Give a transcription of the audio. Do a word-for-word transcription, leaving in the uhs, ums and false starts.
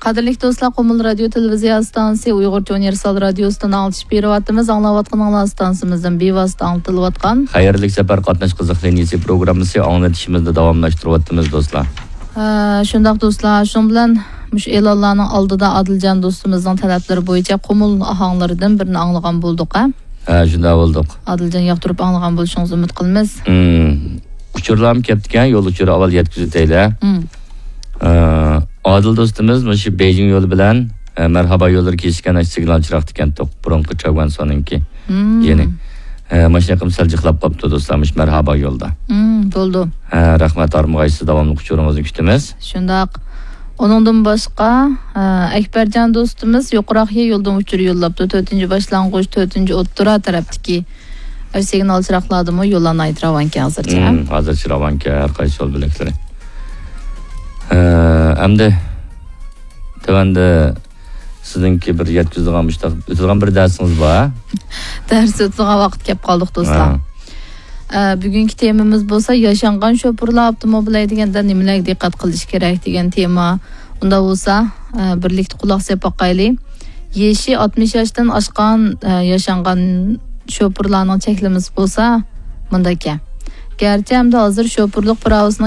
قەدىرلىك دوستلار، قۇمۇل رادىيو تېلېۋىزىيە ئىستانسىسى ئۇيغۇرچە ئۇنىۋېرسال رادىيوسىدىن ئاڭلىتىش بېرىۋاتىمىز. ئاڭلاۋاتقىنىڭلار ئىستانسىمىزدىن بىۋاسىتە ئاڭلىتىلىۋاتقان خەيرلىك سەپەر قاتناش قىزىق لىنىيىسى پروگراممىسى ئاڭلىتىشىمىزنى داۋاملاشتۇرۇۋاتىمىز، دوستلار. ھە، شۇنداق دوستلار، شۇنىڭ بىلەن مۇشۇ ئېلانلارنىڭ ئالدىدا ئادىلجان دوستىمىزنىڭ تەلەپلىرى بويىچە قۇمۇل ئاھاڭلىرىدىن بىرنى ئاڭلىغان بولدۇق، ھە؟ ھە، شۇنداق بولدۇق. ئادىلجان ياقتۇرۇپ ئاڭلىغان بولۇشىڭىزنى ئۈمىد قىلىمىز. ھىم. ئۇچۇرلارمۇ كەپتىكەن، يول ئۇچۇرى ئاۋۋال يەتكۈزۈۋېتەيلى. ھىم. ئە، ئادىل دوستىمىز مۇشۇ بېيجىڭ يولى بىلەن، ئە، مەرھابا يوللىرى كېسىشكەن ئاشۇ سىگنال چىراغ تىكەنتۇق، بۇرۇنقى چاۋگۈەنسونىڭكى. ھىم. يەنى، ئە، ماشىنا قىلىپ سەل جىقلاپ قاپتۇ دوستلار، مۇشۇ مەرھابا يولدا. ھىم، بولدى. ھە، رەھمەت، ھارمىغايسىز، داۋاملىق ئۇچۇرىڭىزنى كۈتىمىز. شۇنداق. ئۇنىڭدىن باشقا، ئە، ئەكبەرجان دوستىمىز يۇقىراق يولدىن ئۇچۇر يوللاپتۇ. تۆتىنچى باشلانغۇچ، تۆتىنچى ئوتتۇرا تەرەپتىكى ئەر سىگنال چىراغلاردىمۇ يوللار ناھايىتى راۋانكەن ھازىرچە. ھىم، ھازىرچە راۋانكەن ھەر قايسى يول بۆلەكلىرى. ئە، ئەمدى تۆۋەندە سىزنىڭكى بىر يەتكۈزىدىغان مۇشتاق ئۆتىدىغان بىر دەرسىڭىز بار. دەرس ئۆتىدىغان ۋاقىت كەپ قالدۇق، دوستلار. ھە. ئە، بۈگۈنكى تېمىمىز بولسا ياشانغان شوپۇرلار ئاپتوموبىل ھەيدىگەندە نېمىلەرگە دىققەت قىلىش كېرەك دېگەن تېما. ئۇنداق بولسا، ئە، بىرلىكتە قۇلاق سېلىپ باقايلى. يېشى ئاتمىش ياشتىن ئاشقان، ئە، ياشانغان شوپۇرلارنىڭ چەكلىمىسى بولسا مۇنداككەن. گەرچە ئەمدى ھازىر شوپۇرلۇق پىراۋىسىنىڭ